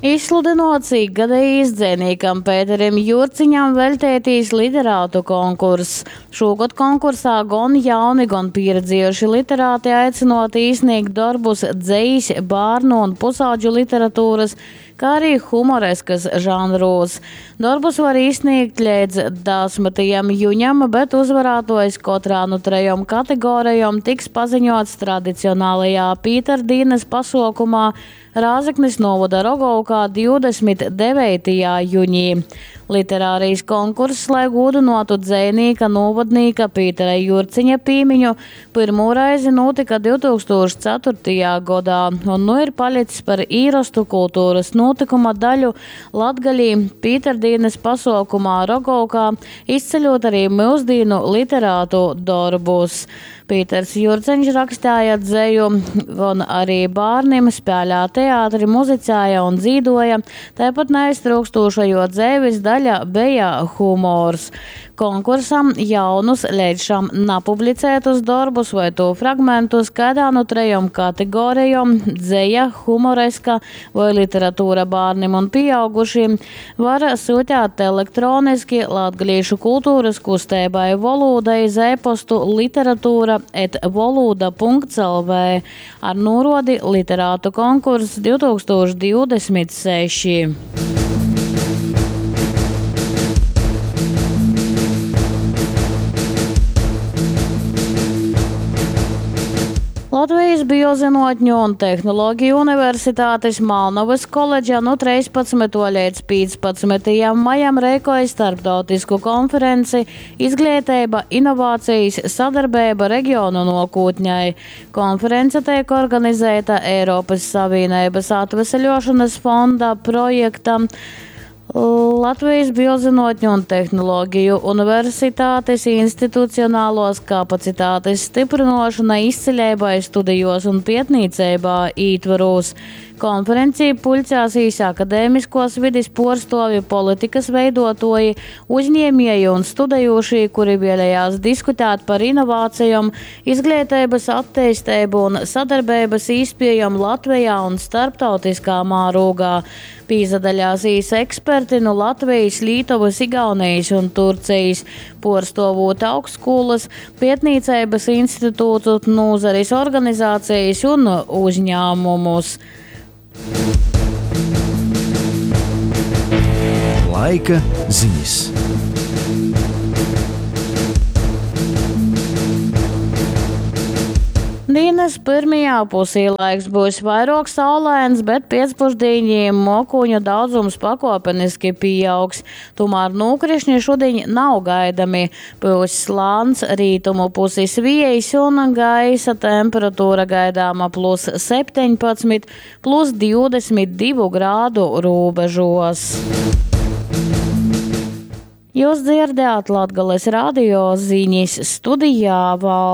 Izsludynuots ikgadejīs dzejnīkam Pēterim Jurciņam veļteitīs literātu konkurss. Šūgod konkursā gon jauni, gon pīredziejuši literāti aicynuoti īsnīgt dorbus dzejis, bārnu un pusaudžu literatūrys, kā arī humoreskys žanrūs. Dorbus var īsnīgt leidz 10. juņam, bet uzvarātuojs kotrā nu trejom kategorejom tiks paziņots tradicionālajā Pīterdīnys pasuokumā Rāzeknis nūvoda Rogovkā 29. juņī. Literārais konkurss, lai gūdynuotu dzejnīka, nūvodnīka Pītera Jurciņa pīmiņu, pyrmū reizi nūtyka 2004. godā un nu ir palics par īrostu kulturys nūtykuma daļu Latgalī Pīterdīnys pasuokumā Rogovkā, izceļūt arī myusdīnu literātu dorbus. Pīters Jurceņš rakstēja dzeju, gon arī bārnim, spēlēja teātri, muzicēja un dzīdoja, taipat naiztryukstūša juo dzeivis daļa beja humors. Konkursam jaunus, leidz šam napublicētus dorbus voi tū fragmentus kaidā nu trejom kategorejom – dzeja, humoreska voi literatūra bārnim un pīaugušīm – var syutēt elektroniski latgalīšu kulturys kusteibai Volūda iz e-postu literatūra et volūda.lv ar nūruodi Literātu konkurss 2026. Latvijas Biozinuotņu un tehnoloģiju universitātes Malnovas koledža nu 13. līdz 15. majam reikoja starptautisku konferenci Izglītība, inovācijas, sadarbība reģionu nokūtņai. Konference tiek organizēta Eiropas Savienības atveseļošanas fonda projekta Latvijas Biozinuotņu un tehnoloģiju universitātes institucionālos kapacitātes stiprinošana izciļībai studijos un pietnīceibā ītvarūs. Konferencī puļcēsīs akadēmiskos vidis puorstuovi, politikas veidotoji, uzņēmēji un studējušie, kuri vēlējās diskutēt par inovācijām, izglītības attīstību un sadarbības īspējām Latvijā un starptautiskā mārūgā. Pīzadaļāsīs eksperti no Latvijas, Lītovas, Igaunijas un Turcijas, puorstovot augstskolas, pietnīceibas institūtu, nozaris organizācijas un uzņēmumus. Laika ziņas. Dienas pirmajā pusī laiks būs vairāk saulains, bet pēcpusdienī mokūņu daudzums pakopeniski pieaugs. Tomēr nūkrišņi šodien nav gaidami. Būs slāns, rītumu pusis viejs un gaisa temperatūra gaidāma plus 17, plus 22 grādu robežos. Jūs dzirdējāt Latgales radio ziņas studijā valde.